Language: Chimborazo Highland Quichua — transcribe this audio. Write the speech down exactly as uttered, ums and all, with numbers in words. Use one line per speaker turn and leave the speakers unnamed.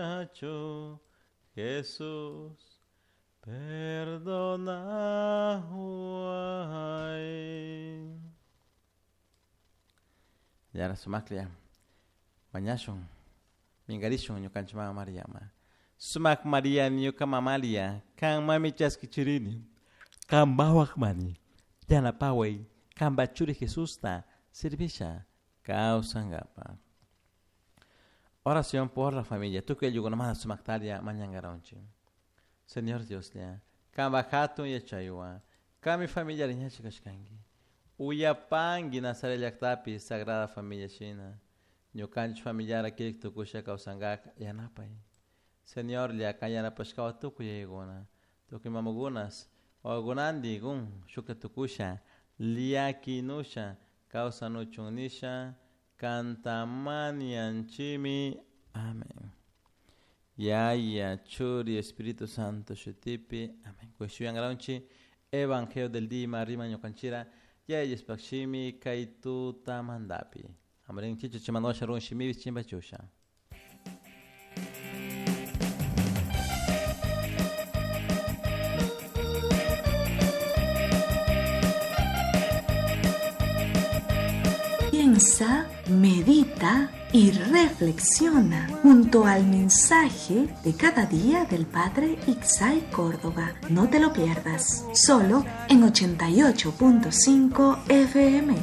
Muchacho Jesús, perdona. Yara sumaklia, mañashun, mingarishun ñukanchik mama Mariama. Sumak Maria ñuka mamalia, kan mami chaskichirini, kan bawak mani, yanapaway, kan bachuri Jesusta, servisha, kawsankapa. Oración por la familia. Tukuy ayllukunamanta sumaktaria mañankaronchik. Señor Dios lla, kanpa hatun yachaywan, kanmi familia ñachi kashkanki. Uyapanki Nazaret llaktapi Sagrada Familia shina. Ñukanchik familiara kirik tukusha kawsankaka yanapay. Señor lla, kan yanapashkawan tukuy yayakuna, tukuy mamakunas, wawakunantin kun shukta tukusha, llakinusha, kawsanuchun nisha, kantamanianchimi. Amén. Yaya, Churi, Espíritu Santo, shutipi. Amén. Kushuyangaraunchi, Evangelio del Dima, Rima ñukanchira, Yaya Spakshimi, Kaituta Mandapi. Amrin chichu chimanosha run shimibi chimbachusha.
Piensa, medita y reflexiona junto al mensaje de cada día del Padre Ixay Córdoba. No te lo pierdas, solo en ochenta y ocho punto cinco F M.